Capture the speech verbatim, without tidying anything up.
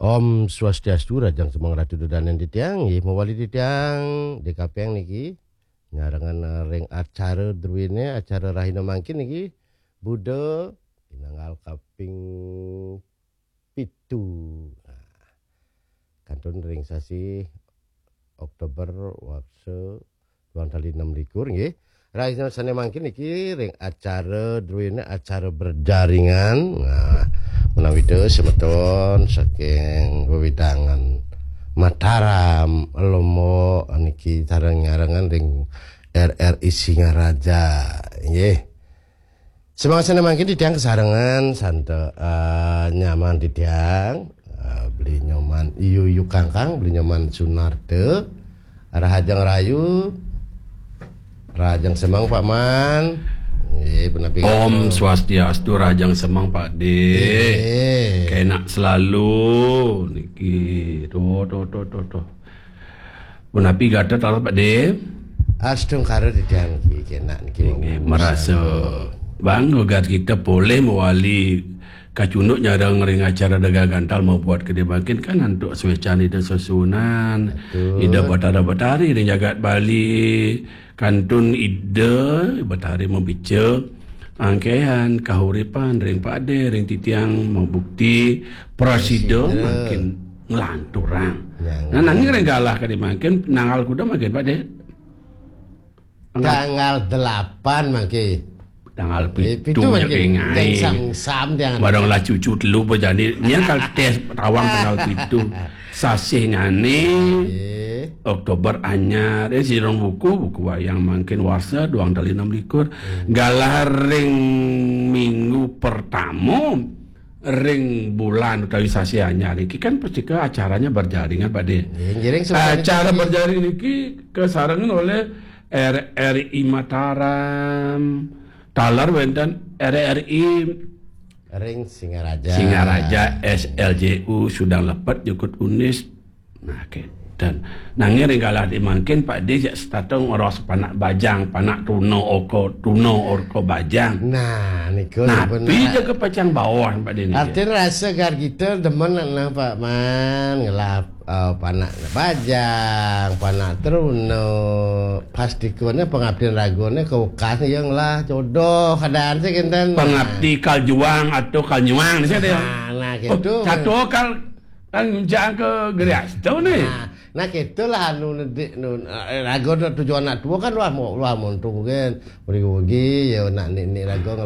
Om Swastiastu, rahajeng semeng Ratu Dudanen titiang, nggih mawali titiang D K P niki nyarengan ring acara druene, acara rahina mangkin niki Buda pinanggal kaping pitu. Nah, kantun ring sasi Oktober warsa duang tali enam likur nggih. Rahina sane mangkin niki ring acara druene acara berjaringan. Nah, menawi semeton saking wewidangan Mataram, Lombok niki sareng nyarengan ring R R I Singaraja nggih. Semangsa mangkin titiang kasarengan santa eh, nyaman titiang eh, beli nyoman iyu iyu kangkang beli nyoman Sunarta rahajeng rayu rahajeng semang Pak Man. Eh, punapi Om Swastiastu, rahajeng semang Pak De. Eh. Kenak selalu niki. Tuh, tuh, tuh, tuh, tuh. Punapi gatra taler Pak De? Astungkara titiang niki kenak niki. Inggih, marasa bangga gatra kita polih mawali kacunduk nyareng ring acara Dega Gantal mabuat kadi mangkin kan antuk swecan Ida Sesuunan, Ida Batara Batari ring jagat Bali, kantun Ida Batari mabica angkehan kahuripan ring Pak De, ring titiang mabukti prasida mangkin nglanturang. Nah, nanging ring galah kadi mangkin nanggal kuda mangkin Pak De? Tanggal delapan mangke. Tanggal pitu mangke. Sam-sam tiang. Barang lah cucu telu bejani. Nya kal tes tawang tanggal pitu. Sasih nyane Oktober anyar. Eh, sirong buku, buku wayang mangkin warsa duang tali enam likur. Galah ring minggu pertama ring bulan utawi sasih anyar iki kan pasti ke acaranya berjaringan Pak De. Nggih, ngiring sebenarnya acara berjaring niki kesarengan oleh R R I Mataram, taler wenten R R I ring Singaraja. Singaraja, S L J U, Sudang Lepet, Jukut Unis. Nah, oke. Dan nanging ring galah di mangkin Pak De jak setata ngeros panak bajang, panak tuna oko, tuna orko bajang. Nah, niku nah, sampun pi jaga pacang bawah Pak De niki. Artinya rasa gar kita demen nak nang Pak Man ngelah uh, panak bajang, panak teruna, pasti kone pengabdian ragone ke ukas ya ngelah jodoh keadaan sih kinten. Pengabdi kal juang atau kal nyuang sih ya. Nah, nah gitu. Oh, satu kal kan ngunjang ke gerias tu ni. Nah, nah gitulah anu nedik nun. Eh, raga tujuan anak tua kan wah mau wah muntung kan. Beri ugi ya nak nik-nik raga